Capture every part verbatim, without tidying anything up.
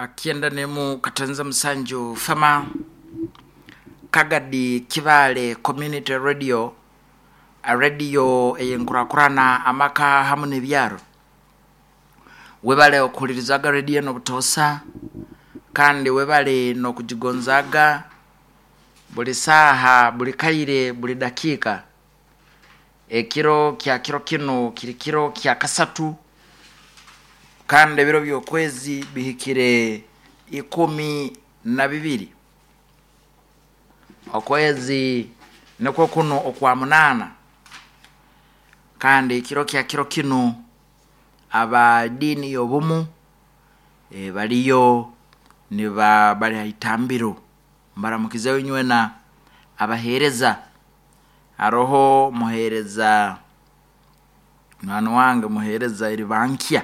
Kyenda nemu katanza musanju fama Kagadi Kibale Community Radio, radio eyenkurakurana amaka hamu n'ebyaro. Webale okuhulirizaga radio n'obutosa, kandi webale n'okugigonzaga buli saaha, buli kaire, buli dakiika. Ekiro kya kiro kinu kiri kiro kya kasatu, kandi ebiro by'okwezi bihikire ikumi na bibiri, okwezi nikwo kuno okwa munaana. Kandi ekiro kya kiro kinu aba diini y'obumu e, baliyo niba bali haitambiro. Mbaramukizeyo inywena abaheereza. Haroho muheereza mwana wange, muheereza Eribankya.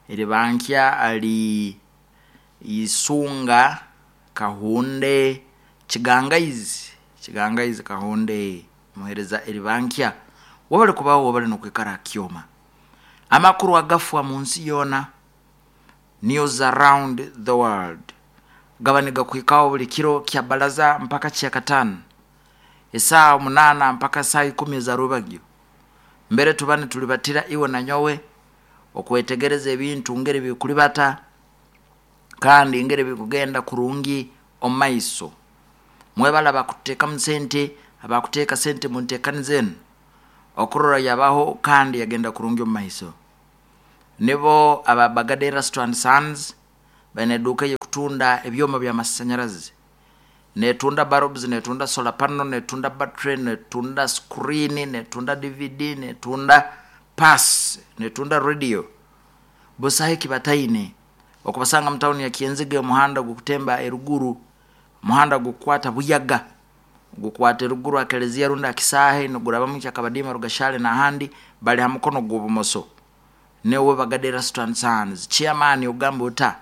Eribankya ali Isunga Kahunde Kigangaizi, Kigangaizi Kahunde, muheereza Eribankya, wabali kubaho, wabali nokwikara hakyoma. Amakuru agafwa mu nsi yoona, news around the world, gaba nigakuhikaho buli kiro kya balaza mpaka kya katano, esaaha munaana mpaka saa ikumi eza rubagyo. Mbere tuba nitulibatira iwe na nyowe okwetegereza ebintu ngeri bikulibata kandi ngeri bikugenda kurungi omu maiso. Mwebale abakuteekamu sente, abakuteeka sente munteekaniza enu okurora yabaho kandi yagenda kurungi omu maiso. Nibo aba Bagade Erasto and Sons, baine eduuka ey'okutunda ebyoma by'amasanyarazi, netunda bulbs, netunda solar panel, netunda battery, netunda screen, netunda D V D, netunda pass, netunda radio. Busaho ekibataine. Okubasanga mu tawuni ya Kyenzige, omuhanda gukutemba eruguru, omuhanda gukukwata Buyaga, gukwata eruguru akelezia rundi akisaahe, nigurabamu Kyakabadiima, Rugashale n'ahandi, bali ha mukono gw'obumoso. Niwe Bagade Erasto and Sons chairman. Ogamba ota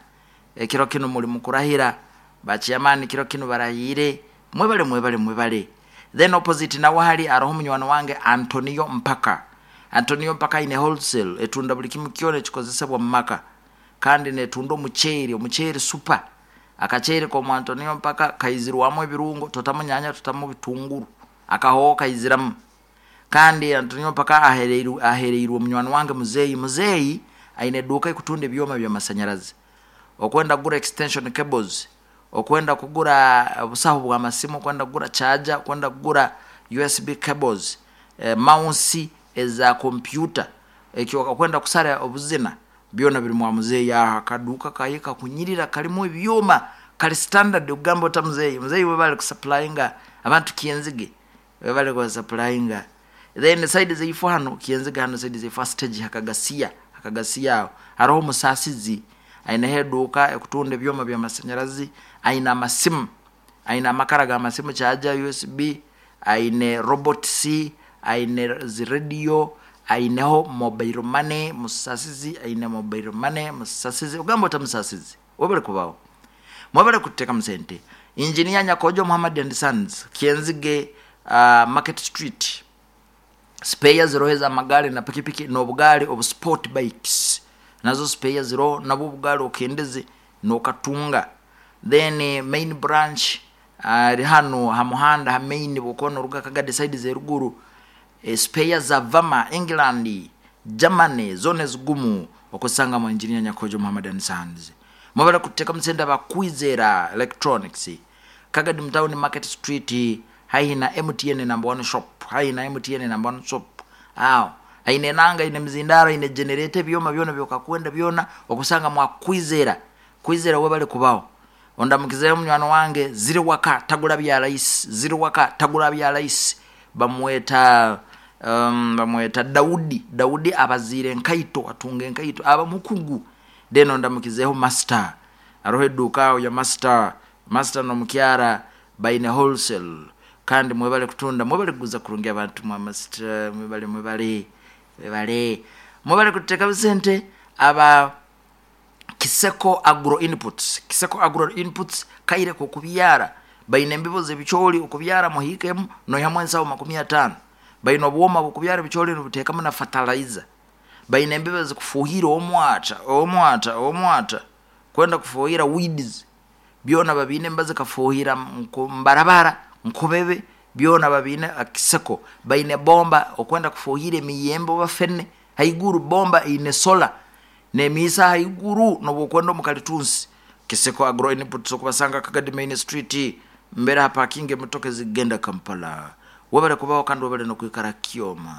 ekiro kinu muli mukurahira ba chairman, kiro kinu barahiire. Mwebale, mwebale, mwebale. Then opposite nawe hali aroho munywani wange Antonio Mpaka. Antonio Mpaka aine wholesale etunda buli kimu kyona ekikozesebwa mu maka, kandi netunda omuceeri, omuceeri super. Akaceeri komu Antonio Mpaka kaizirwamu ebirungo, totamu nyanya, totamu bitunguru, akahooho kaiziramu. Kandi Antonio Mpaka ahereirwe ahereirwe munywani wange Muzeeyi. Muzeeyi aine eduuka ekutunda ebyoma by'amasanyarazi. Okwenda kugura extension cables, okwenda kugura obusaho bw'amasimu, okwenda kugura charger, okwenda kugura U S B cables, eh, mouse eza kompyuta, ekyo okwenda kusara obuzina, byona biri mwa Muzeeyi. Aha akaduuka kaye kakunyirira, kalimu ebyoma, kali standard. Okugamba ota Muzeeyi? Muzeeyi webale kusupplyinga abantu Kyenzige, webale kubasupplyinga. Then side zeifu hano Kyenzige, hano side zeifu stage hakagasiya, hakagasiya aho hariho omusasizi, aineho eduuka ekutunda ebyoma by'amasanyarazi, aine amasimu, aine amakara g'amasimu, charger, U S B, aine robot c, aine zirediyo, aineho mobile money. Musasizi aine mobile money. Musasizi, ogamba ota Musasizi? Webale kubaho, mwebale kuteekamu sente. Engineer Nyakojo Muhammad and Sons, Kyenzige, uh, Market Street, spare ziroho ez'amagaari na pikipiki n'obugaari obu sport bikes, nazo spare ziroho, nabwo obugaari okendeze n'okatunga. Then main branch ari uh, hano ha muhanda ha main, bwokuba noruga Kagadi side z'eruguru, e, spare za Vama, England, Germany, zone zigumu okusanga mu Engineer Nyakojo Muhammad and Sons. Mwebale kuteekamu sente abakwizera Electronics, Kagadi mtown, Market Street, haihi na M T N number one shop, haihi na M T N number one shop aho. Aine nanga, aine mizindaro, aine generator, ebyoma byona byokakwenda byona okusanga mwakwizera. Kwizera, webale kubaho. Ondamukizeyo munywani wange ziri waka tagula bya rahisi, ziri waka tagula bya rahisi, bamweta um, bamweta Daudi. Daudi abaziire enkaito, atunga enkaito, aba mukugu. Then ondamukizeho Master, aroho eduuka aho ya Master. Master nomukyara baine wholesale, kandi mwebale kutunda, mwebale kuguza kurungi abantu mwa Master. Mwebale, mwebale, mwebale, mwebale kuteeka sente aba Kiseko Agro Inputs. Kiseko Agro Inputs, kaire kokubyara, baine embibo z'ebicooli, okubyara muhiikemu noihamu ensaho makumi ataano. Baine obwoma bukubyara ebicooli, nibuteekamu na fertilizer. Baine embibo zikufuuhira omwata, omwata, omwata. Kwenda kufuhira weeds byona babiine embazi kafuhira mbarabara nkobebe byona babiine akiseko. Baine bomba okwenda kufuhira emiyembe oba fene haiguru, bomba eine sola nemiisa haiguru nobwokwenda omukalitunsi. Kiseko Agro Inputs okubasanga Kagadi Main Street mbere hapakinga emotoka ezigenda Kampala. Webale kubaho kandi webale nokwikara kyoma.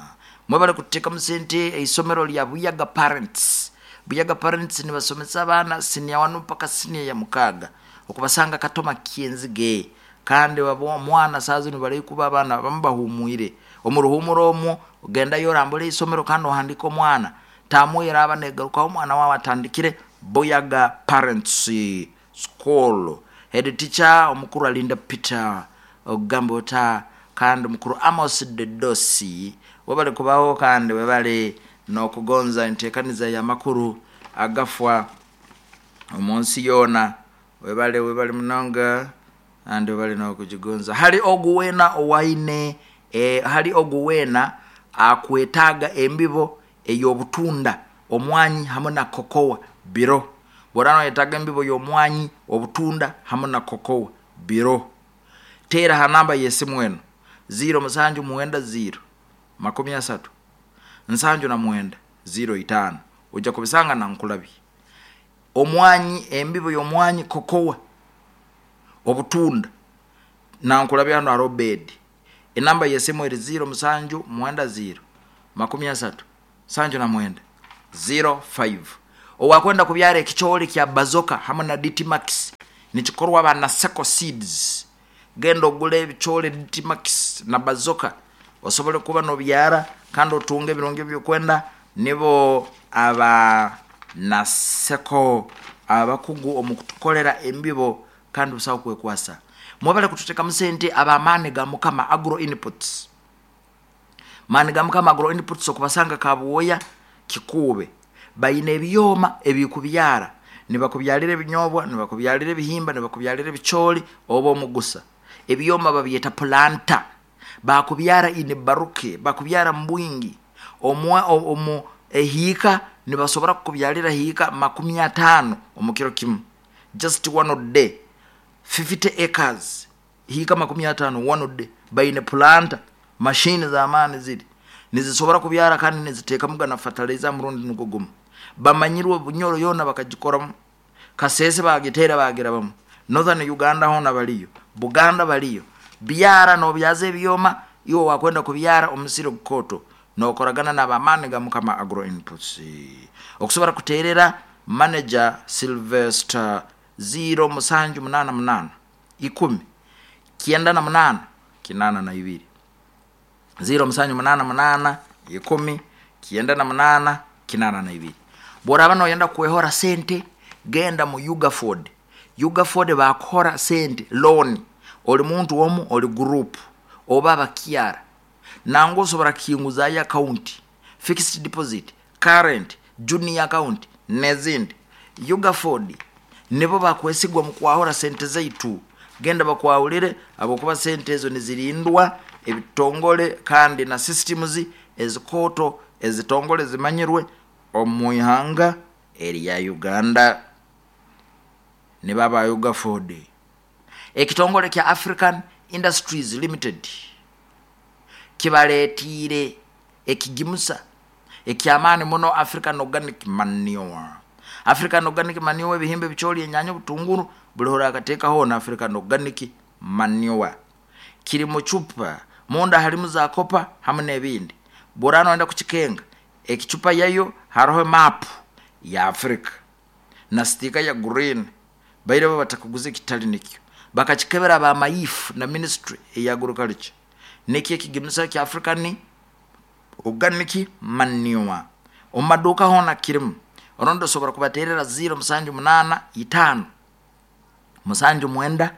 Mwebale kuteekamu sente eisomero lya Buyaga Parents. Buyaga Parents nibasomesa abaana senior one mpaka senior ya mukaaga, okubasanga Katoma Kyenzige. Kandi omwana saaha zinu bari kuba abaana abamu bahumwire omu ruhumuro omwo, ogendayo orambura eisomero kandi ohandika omwana tamu eraba negarukaho omwana wawe atandikire. Buyaga Parents School, head teacher omukuru Alinda Peter ogamba ota, kandi mukuru Amos Dedosi. Webale kubaho kandi webale nokugonza entekaniza y'amakuru agafwa omunsi yoona. Webale, webale munonga kandi webale nokugigonza. Hali ogu weena owaine e, hali ogu weena akwetaaga embibo ey'obutunda, omwanyi hamu na kokowa biro borana oyetaaga embibo y'omwanyi, obutunda hamu na kokowa biro, teera ha namba y'esimu eno ziro musanju mwenda ziro makumi asatu nsanju na mwenda ziro itaano, ojja kubisanga nankulabye. Omwanyi, embibo y'omwanyi, kokowa, obutunda, nankulabye hano haroho bedi. Enamba y'esimu eri ziro musanju mwenda ziro makumi asatu nsanju na mwenda ziro five. Owakwenda kubyara ekicoori kya Bazoka hamu na D T Max, nikikorwa ba Seko Seeds. Genda ogule ebicoori D T Max na Bazoka osobole kuba nobyara kandi otunge ebirungi ebyokwenda. Nibo aba Naseko abakugu omu kutukolera embibo kandi busaho kwekwasa. Mwebale kututeekamu sente ab'amaani ga Mukama Agro Inputs. Maani ga Mukama Agro Inputs okubasanga Kabuoya Kikuube. Baine ebyoma ebikubyara, nibakubyalira ebinyobwa, nibakubyalira ebihimba, nibakubyalira ebicooli oba omugusa. Ebyoma babyeta planter, bakubyara in bulk, bakubyara mu bwingi. Omu ehiika nibasobora kukubyalira hiika makumi ataano omu kiro kimu, just one day, fifty acres, hiika makumi ataano one day. Baine planter mashini z'amaani ziri nizisobora kubyara kandi niziteekamuga na fertilizer murundi nugwo gumu. Bamanyirwe Bunyoro yoona bakagikoramu, Kasese bagiteera bagirabamu, Northern Uganda hoona baliyo, Buganda baliyo. Byara nobyaza ebyoma iwe wakwenda kubyara omusiri ogukooto nokoragana n'abamaani ga Mukama Agro Inputs. Okusobora kuteerera manager Sylvester ziro musanju munaana munaana ikumi kyenda na munaana kinaana na ibiri, ziro musanju munaana munaana ikumi kyenda na munaana kinaana na ibiri. Bworaba noyenda kwehora sente, genda mu Ugaford. Ugaford bakuhora sente loan, oli muntu omu, oli group oba abakyara, nangwa osobora kukinguzayo account, fixed deposit, current, junior account n'ezindi. Ugaford nibo bakwesigwa mu kwahura sente zaitu. Genda bakwahulire habwokuba sente ezo nizirindwa ebitongole kandi na systems ezikooto ezitongole zimanyirwe omu ihanga erya Uganda, nibo aba Ugaford. Ekitongole kya African Industries Limited kibaletiire ekigimusa ekyamaani muno, African Organic Manure. African Organic Manure, ebihimba, ebicooli, enyanya, obutunguru, buli hora akateekaho na African Organic Manure. Kiri mu cupa, munda halimu za copper hamu n'ebindi. Bworaba noyenda kukikenga, ekicupa yayo haroho map ya Africa na sticker ya green. Baire bo batakuguza ekitali nikyo, bakakikebera bamayifu na ministry eya agriculture. Nikyo ekigimusa kya African Organic Manure, omu maduuka hoona kirimu. Orundi osobora kubateerera ziro musanju munaana itaano musanju mwenda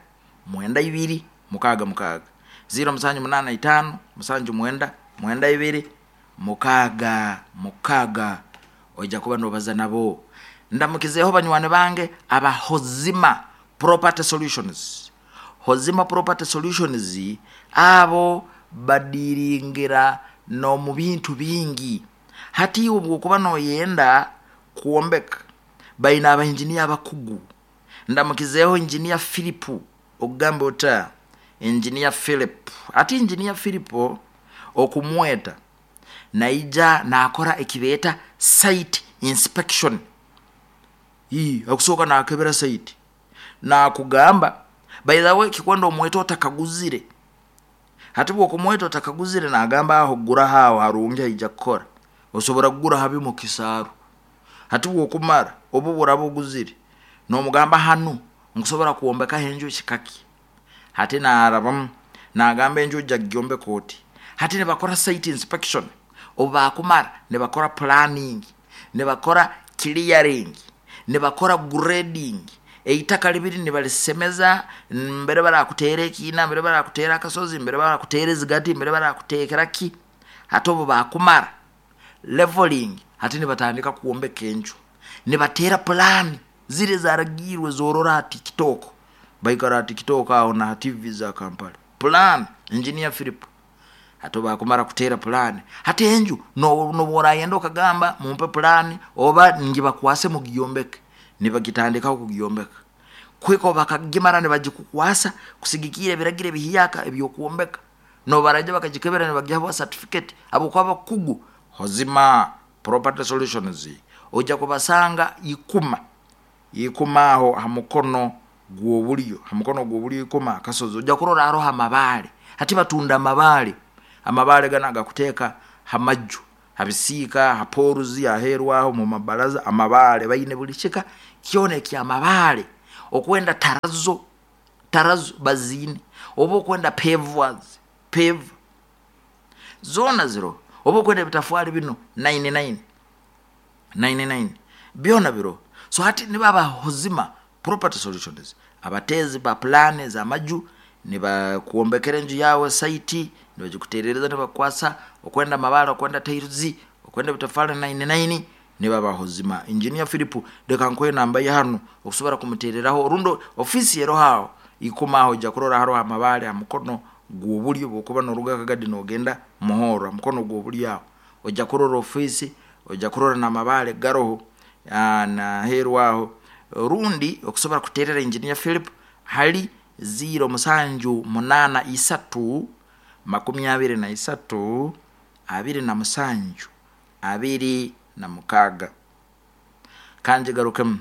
mwenda ibiri mukaaga mukaaga, ziro musanju munaana itaano musanju mwenda mwenda ibiri mukaaga mukaaga, ojja kuba nobaza nabo. Ndamukizeeho banywani bange aba Hozima Property Solutions. Hozima Property Solutions abo badiringira n'omu bintu bingi. Hati iwe bwokuba noyenda kwombeka, baine abainjiniya abakugu. Ndamukizeeho Engineer Philip, okugamba ota Engineer Philip. Ati Engineer Philip okumweta naija nakora ekibeeta site inspection. Ii, akusooka nakebera site nakugamba. By the way, kikwenda omweta otakaguzire. Hati bwokumweta otakaguzire, nagamba aho guraho, aho harungi, haija kukora. Osobora kugura habi mu kisaaru. Hati bwokumara obu buraba oguzire, nomugamba hanu nkusobora kwombekaho enju kikaki. Hati narabamu nagamba enju ojja kugyombeka oti. Hati nibakora site inspection. Obu bakumara nibakora planning, nibakora clearing, nibakora grading. Eitaka libiri nibalisemeza mbere barakuteera ekiina, mbere barakuteera akasozi, mbere barakuteera ezigati, mbere barakuteekera ki. Hati obu bakumara leveling, hati nibatandika kwombeka enju, nibateera pulaani ziri ezaragiirwe zorora ha TikTok. Baikara ha TikTok aho na ha T V za Kampala. Plan, Engineer Philip. Hati bakumara kuteera pulaani, hati enju nobu orayenda okagamba mumpe pulaani oba ngibakwase mugyombeke, nibagitandikaho kugyombeka kweka bakagimara nibagikukwasa kusigikiira ebiragiro ebihiyaka ebyokwombeka. Nobaraija bakagikebera, nibagiha certificate habwokuba bakugu. Hozima Property Solutions ojja kubasanga Ikuma, Ikuma aho ha mukono gw'obulyo, ha mukono gw'obulyo Ikuma akasozi ojja kurora haroho amabaale. Hati batunda amabaale, amabaale ganu agakuteeka ha maju, ha bisiika, ha poruzi, aheeru aho mu mabaraza. Amabaale baine buli kika kyona ekyamabaale. Okwenda tarazo, tarazo baziine. Oba okwenda pavers, pave zoona ziroho. Oba okwenda ebitafaali bino nine nine nine nine, byona biroho. So hati nibo aba Hozima Property Solutions, abateezi ba pulaani ez'amaju. Nibakwombekera enju yawe site, nibagikuterereza, nibakukwasa. Okwenda amabaale, okwenda tiles, okwenda ebitafaali nine nine, nibo aba Hozima. Engineer Philip, leka nkuhe namba ye hanu okusobora kumutereraho. Rundi ofiisi eroho aho Ikuma, aho ojja kurora haroho amabaale ha mukono gw'obulyo bwokuba noruga Kagadi nogenda Muhorro. Ha mukono gw'obulyo aho ojja kurora ofiisi, ojja kurora n'amabaale garoho naheeru aho. Rundi okusobora kuterera Engineer Philip hali ziro musanju munaana isatu makumi abiri na isatu abiri na musanju abiri na mukaaga. Kanji garukemu: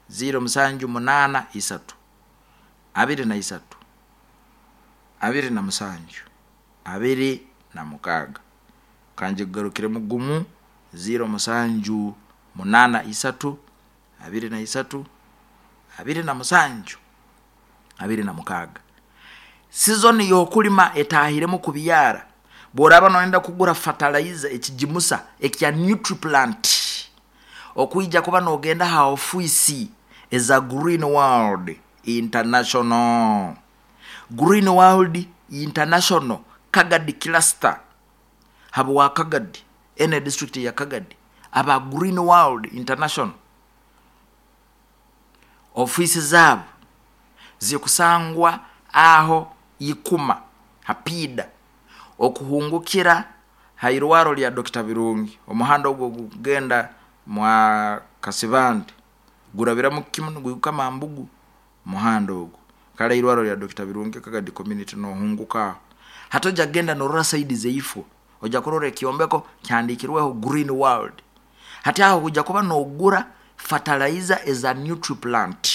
ziro musanju munaana isatu abiri na isatu abiri na musanju abiri na mukaaga. Kanji kugarukiremu gumu: ziro musanju munaana isatu abiri na isatu abiri na musanju abiri na mukaaga. Sizoni y'okulima etahiremu kubyara. Bworaba noyenda kugura fertilizer, ekigimusa ekya Nutriplant, okwija kuba nogenda ha ofiisi eza Green World International, Green World International Kagadi Cluster, habwa Kagadi ene district ya Kagadi. Aba Green World International ofiisi zaabo zikusangwa aho Ikuma hapida okuhungukira hairwaro lya Doctor Birungi. Omuhanda ogwo gugenda mwa Kasibante, gurabiramu kimu niguhika Mambugu. Muhanda ogwo kale irwaro lya Doctor Birungi, Kagadi community, nohunguka aho. Hati ojja kugenda norora side zeifo, ojja kurora ekyombeko kyandikirweho Green World. Hati aho ojja kuba nogura fertilizer eza Nutriplant,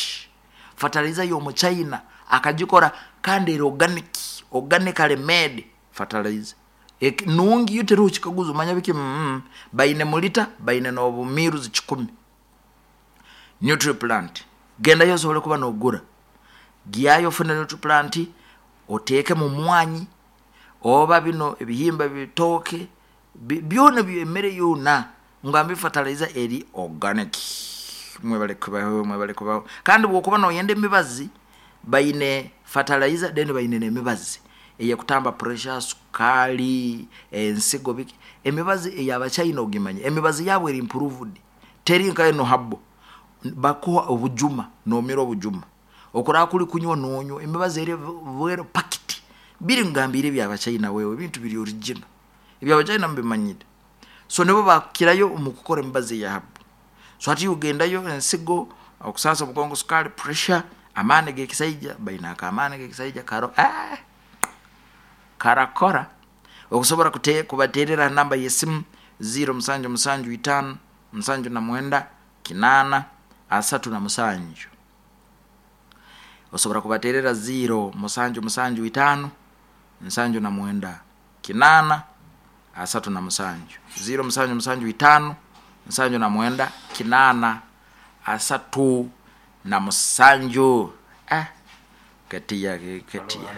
fertilizer y'omuchina akagikora kandi eri organic, organically made fertilizer. Ek- nungi yo, teriho kikaguzo. Manya biki mm, baine mulita, baine n'obumiruzi kikumi. Nutriplant, gendayo osobole kuba nogura. Gyayo ofune Nutriplant, oteeke mu mwanyi oba bino ebihimba bitooke bi- byona byo emmere yona. Ngambe fertilizer eri organic. Mwebale kubaho, mwebale kubaho. Kandi bwokuba noyenda emibazi, baine fertilizer, then baine n'emibazi eyekutamba pressure, sukaali, ensigo, biki. Emibazi ey'abachina ogimanye, emibazi yabo eri improved, teri nka eno habo. Bakuha obujuma nomira obujuma, okuraa kuli kunywa nonywa emibazi eri bwero pakiti biri. Ngambire ebyabachina wewe, ebintu biri original ebyabachina mubimanyire. So nibo bakirayo omu kukora emibazi eya habo. So hati ugendayo ensigo. Okusasa omugongo, sukali, pressure, amaani g'ekisaija, baina akamaani g'ekisaija karo ah, karakora. Okusobora kute kubaterera namba y'esimu ziro musanju musanju itano musanju na mwenda kinana asatu na musanju. Osobora kubaterera ziro musanju musanju itano nsanju na mwenda kinana asatu na musanju, ziro musanju musanju itano nsanju na mwenda kinana asatu na musanju. Ah, Nketia Nketia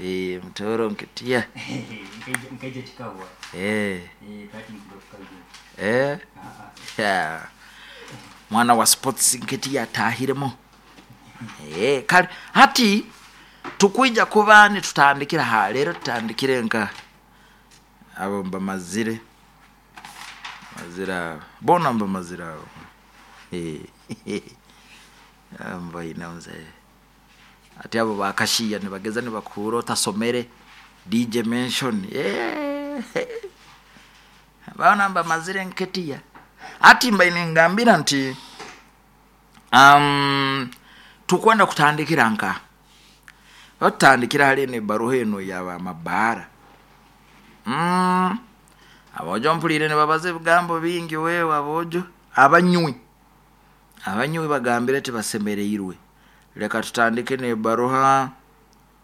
eh, mtoro Nketia. Nkaija kikahwa. Eh, Eh, kati nkugarukayo. eh. Ah, Yeah. Mwana wa sports Nketia atahiremo. Eh, kale hati tukwija kuba nitutandikira ha lero, tutandikire nka abo mbamazire mazira abo bona mbamazire abo. Eh, mbaina mzee ati abo bakashiya nibageza nibakura otasomere D J mention. Eh, bona mbamazire Nketia. Ati mbaine ngambira nti um, tukwenda kutandikira nka batandikira hali ne baruha eno yaba mabara. Mm, abojo mpulire ne babaze ebigambo bingi wewe abojo abanywi abanywi bagambire tibasemereirwe. Leka tutandike ne baruha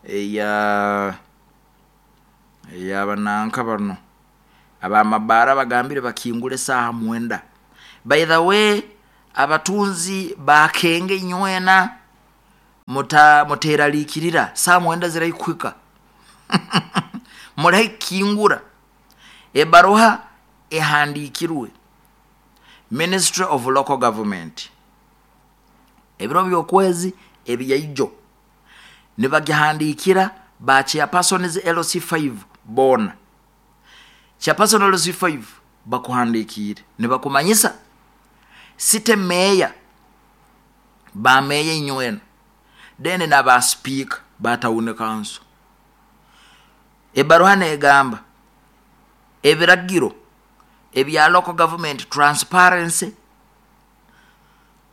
eya eyabananka bano abamabara bagambire bakingule saha mwenda. By the way, abatunzi bakenge nywena muta muteralikirira saa mwenda ziraikwika. Muraikingura. Ebaruha ehandikirwe Ministry of Local Government ebiro by'okwezi ebiyaijo nibagihandikira ba chairpersons L C five bona. Chairperson L C five bakuhandikire nibakumanyisa city mayor ba mayor inywena then na ba speaker ba town council. Ebaruha negamba ebiragiro ebya local government transparency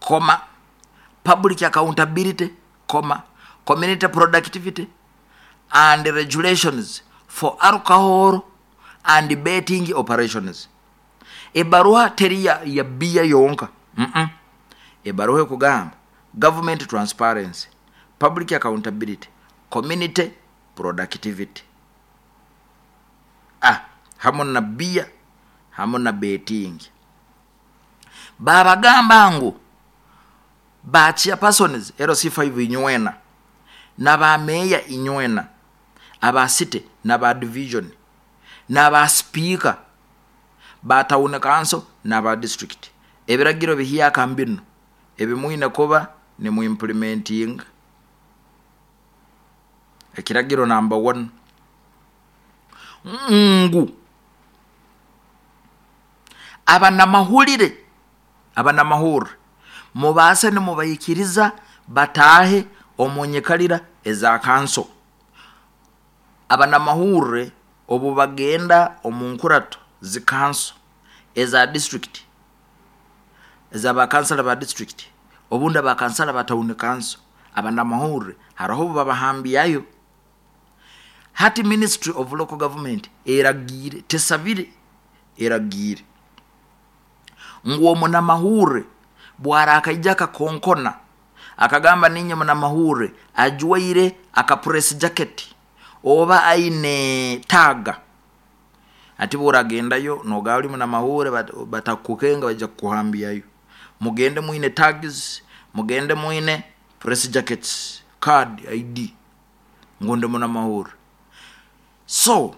koma public accountability koma community productivity and regulations for alcohol and betting operations. Ebaruha teri ya, ya bia yonka. Mm -mm. Ebaruha ekugamba government transparency, public accountability, community productivity. Ah, hamo na bia, hamo na betting. Babagamba ngu ba chairpersons L C five inywena na ba mayor inywena aba city na ba division na ba speaker ba town council na ba district. Ebiragiro bihiya mbino ebimwine kuba ni mu implementing. Ekiragiro number one ngu abanamahulire abanamahurire mubase nimubayikiriza batahe omunyikalira eza kanso. Abanamahurire obu bagenda omunkurato zikanso eza district eza bakansala ba district obundi abakansala ba town council abanamahurire hariho babahambiyayo. Hati Ministry of Local Government eragire tesabire eragire ngu omunamahurire bwarakaija akakonkona akagamba ninye munamahurire ajwaire aka press jacket oba aine taga ati buragendayo nogali munamahurire batakukenga baja kuhambiyayo. Mugende mwine tags, mugende mwine press jackets, card I D ngonde munamahurire. So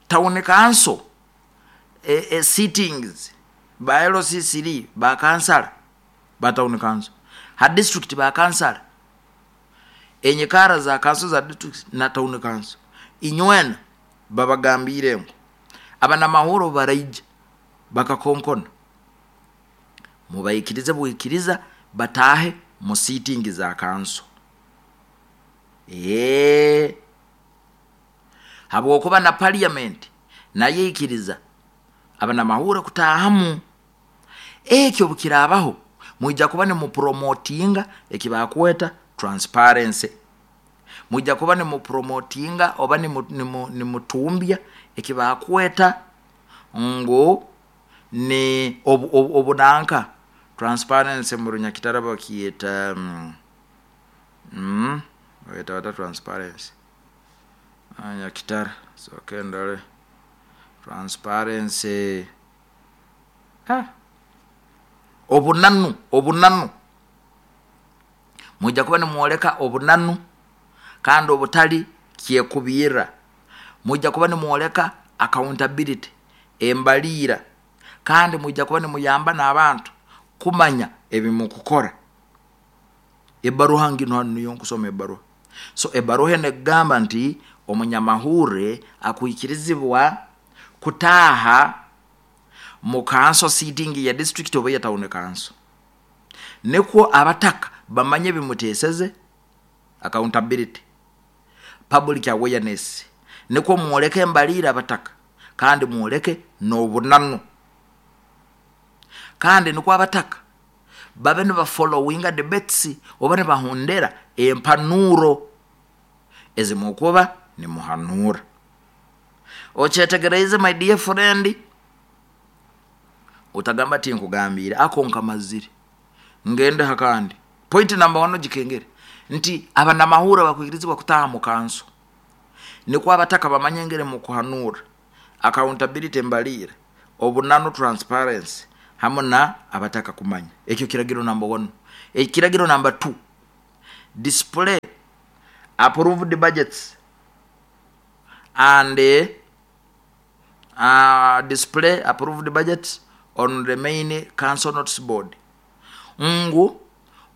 town council e, e, sittings ba L C three ba kansala ba town council ha district ba kansala enyekara za council za district na town council inywena babagambire ngo abanamahoro baraija bakakonkona mubayikirize buikiriza batahe mu sitting za council. Eh, habwokuba na parliament naye ikiriza abanamahoro kutahamu. Ekyo bukirabaho Mwija kuba nimupromotinga ekibakweta transparency, mwija kuba nimupromotinga oba nimutumbya ekibakweta ngu ni obunanka transparency mu Runyakitara bakiyeta mm, mm, bayeta bata transparency Nyakitara, soke ndole transparency ha obunanu obunanu mwija kuba nimwoleka obunanu kandi obutali kyekubirra. Mwija kuba nimwoleka accountability, embaliira, kandi mwija kuba nimuyamba n'abantu kumanya ebimukukora. Ebaruha nginu hanu niyo nkusoma ebaruha. So ebaruha enu ekugamba nti omunyamahurre akwikirizibwa kutaaha mu council sitting ya district oba ya town council, nikwo abataka bamanye ebimuteseze, accountability, public awareness, nikwo mwoleke embaliira abataka kandi mwoleke n'obunanu, kandi nikwo abataka babe nibafollowinga debates oba nibahondera empanuro ezimukuba nimuhanura. Okyetegereize my dear friend? Utagamba tinkugambiire ako nkamazire ngende hakandi. Point number one gikengere nti abanamahura bakwikirizibwa kutaha mu kanso, nikwo abataka bamanye engeri mukuhanura, accountability, embaliira, obunanu, transparency, hamu na abataka kumanya. Ekyo kiragiro number one. Ekiragiro number two, display approved budgets and uh, display approved budgets on the main council notice board. Ngu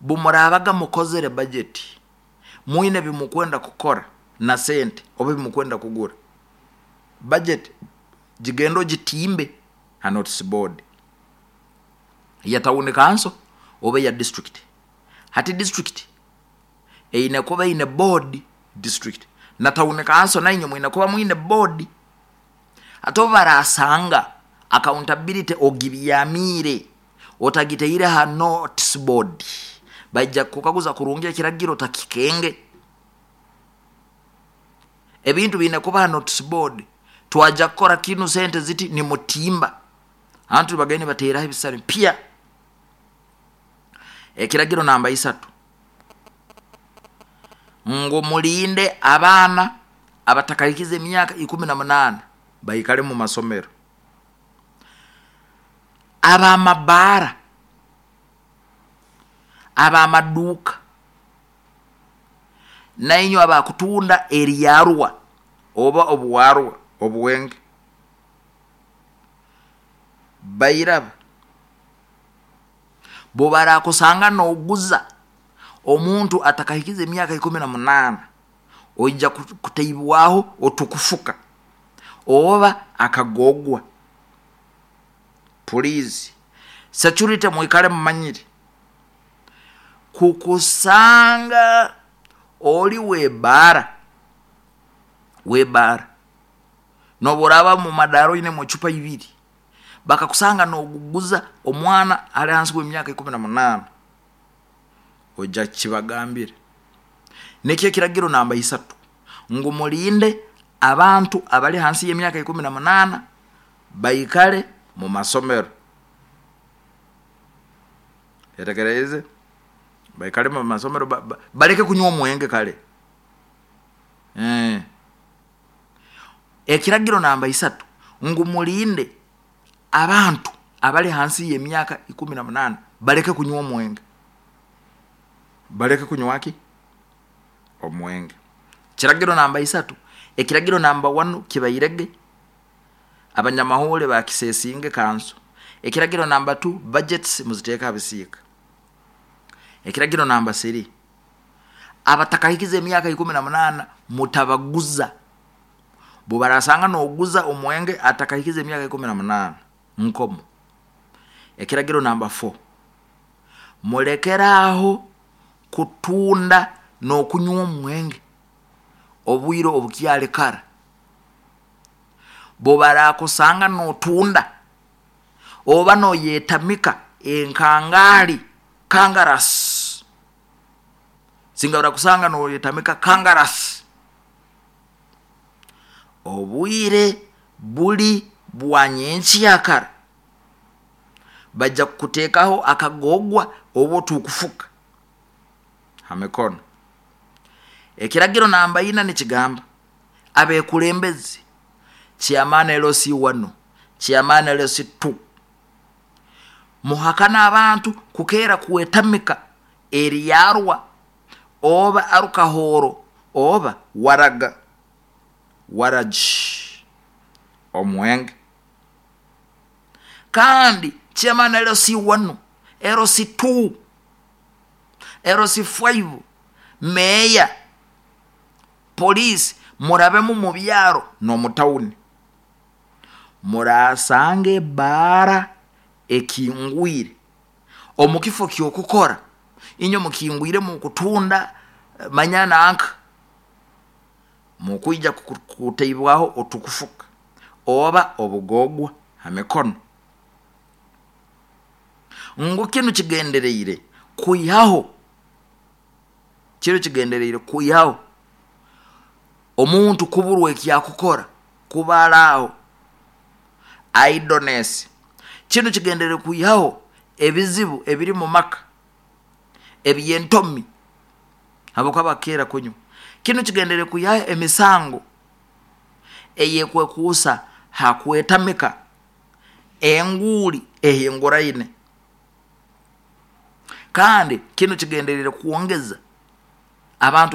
bumurabaga mukozere budget, mwine bimukwenda kukora na sente oba bimukwenda kugura, budget gigenda ogitimbe ha notice board ya town council oba ya district. Hati district eine kuba eine board district, na town council nainywe mwine kuba mwine board. Ate obu barasanga accountability ogibyamiire otagiteire ha notice board, baija kukaguza kurungi ekiragiro otakikenge. Ebintu biine kuba ha notice board, twaja kukora kinu sente ziti nimutimba, antu bagende bateraho ebisare pya. Ekiragiro namba isatu, ngu mulinde abaana abatakahikize emyaka ikumi na munaana baikale mu masomero. Abamabaara, abamaduuka, nainywe abakutunda eryarwa oba obuwarwa obuwenge, bairaba bubarakusanga noguza omuntu atakahikize emyaka ikumi na munaana, oija kuteibwaho otukufuka oba akagogwa. Please security mwikale mumanyire kukusanga oli webara webara noburaba mu madaro oine mu chupa ibiri, bakakusanga noguguza omwana ali hansi w'emyaka ikumi na munaana, oija kibagambire. Nikyo ekiragiro namba isatu, ngu mulinde abantu abali hansi y'emyaka ikumi na munaana baikale mu masomero. Etegereze, baikale mu masomero, ba, ba, baleke kunywa omwenge kale. Eh. Ekiragiro namba isatu, ngu mulinde abantu abali hansi y'emyaka ikumi na munaana baleke kunywa omwenge. Baleke kunywa ki? Omwenge. Kiragiro namba isatu. Ekiragiro namba one kibairege abanyamahule bakisesinge kanso. Ekiragiro namba two, budgets muziteeka bisiika. Ekiragiro namba three, abatakahikize emyaka ikumi na munaana mutabaguza. Bubarasanga noguza omwenge atakahikize emyaka ikumi na munaana nkomo. Ekiragiro namba four, mulekeraho kutunda n'okunywa omwenge obwire obukyali kara. Bubarakusanga notunda oba noyetamika enkangaali Kangaras singa barakusanga noyetamika kangaras. Obwire buli bwa nyenkyakara bajja kukuteekaho akagogwa oba otukufuka ha mikono. Ekiragiro namba ina nikigamba abekulembezi, chairman L C one, chairman L C two, muhakana abantu kukeera kwetamika eryarwa oba arukahoro oba waraga waraji omwenge. Kandi chairman L C one, L C two, L C five, meya, poliisi, murabemu mu byaro n'omu tawuni, murasanga ebaara ekingwire omu kifo kyokukora, inywe mukingwire mukutunda manya nanka mukwija kuteibwaho otukufuka oba obugogwa ha mikono. Ngu kinu kigendereire kwihaho, kinu kigendereire kwihaho omuntu kuburwa ekyakukora, kubaraaho idleness. Kinu kigendereire kwihaho ebizibu ebiri mu maka ebyentomi habwokuba bakeera kunywa. Kinu kigendereire kwihaho emisango eyekwekuusa ha kwetamika enguuli ehinguraine. Kandi kinu kigendereire kwongeza abantu.